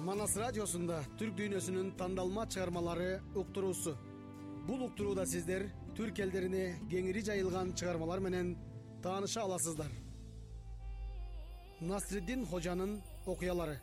Манас радиосунда түрк дүйнөсүнүн тандалма чыгармалары уктуруусу. Бул уктурууда сиздер түрк элдерине кеңири жайылган чыгармалар менен тааныша аласыздар. Насриддин Хожанын окуялары.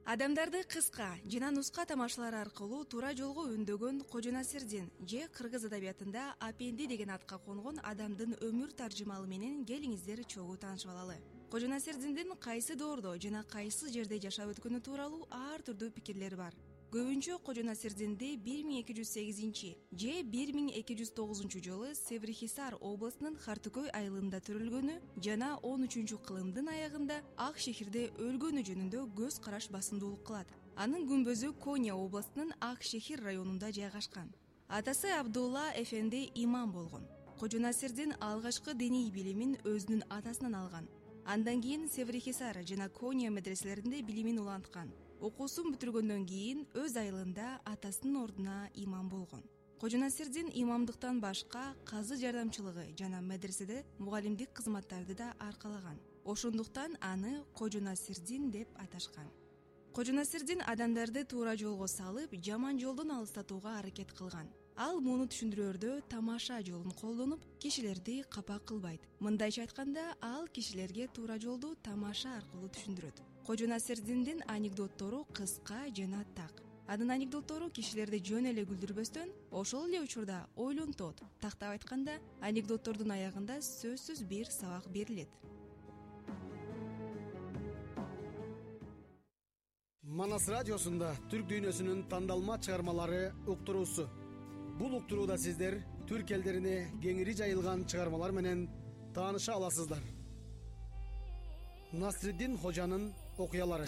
Адамдарды кыска жана нуска тамашалар аркылуу туура жолго үндөгөн Кожо Насирдин же кыргыз адабиятында Апенди деген атка конгон адамдын өмүр таржымалы менен келиңиздер чогуу таанышып алалы. Кожо Насирдиндин кайсы доордо жана кайсы жерде жашап өткөнү тууралуу ар түрдүү пикирлер бар. Көбүнчө Кожо Насирдинди 1208 же 1209 жылы Севрихисар областынын Хартыкөй айылында төрөлгөнү жана 13-кылымдын аягында Ак шехирде өлгөнү жөнүндө көз караш басымдуулук кылат. Анын күмбөзү Коня областынын Ак шехир районунда жайгашкан. Атасы Абдулла эфенди имам болгон. Кожо Насирдин алгачкы диний билимин өзүнүн атасынан алган. Андан кийин Севрихисар жана Коня медреселеринде билимин уланткан. Окуусун бүтүргөндөн кийин өз айылында атасынын ордуна имам болгон. Кожо Насирдин имамдыктан башка казы жардамчылыгы жана медреседе мугалимдик кызматтарды да аркалаган. Ошондуктан аны Кожо Насирдин деп аташкан. Кожо Насирдин адамдарды туура жолго салып, жаман жолдон алыстатууга аракет кылган. Ал муну түшүндүрөөрдө тамаша жолун колдонуп, кишилерди капа кылбайт. Мындайча айтканда, ал кишилерге туура жолду тамаша аркылуу түшүндүрөт. Кожо Насирдиндин анекдоттору кыска жана так. Анын анекдоттору кишилерди жөн эле күлдүрбөстөн, ошол эле учурда ойлонтот. Тактап айтканда, анекдоттордун аягында сөзсүз бир сабак берилет. Манас радиосунда түрк дүйнөсүнүн тандалма чыгармалары уктуруусу. Бул уктурууда сиздер түрк элдерине кеңири жайылган чыгармалар менен тааныша аласыздар. Насриддин Хожанын окуялары.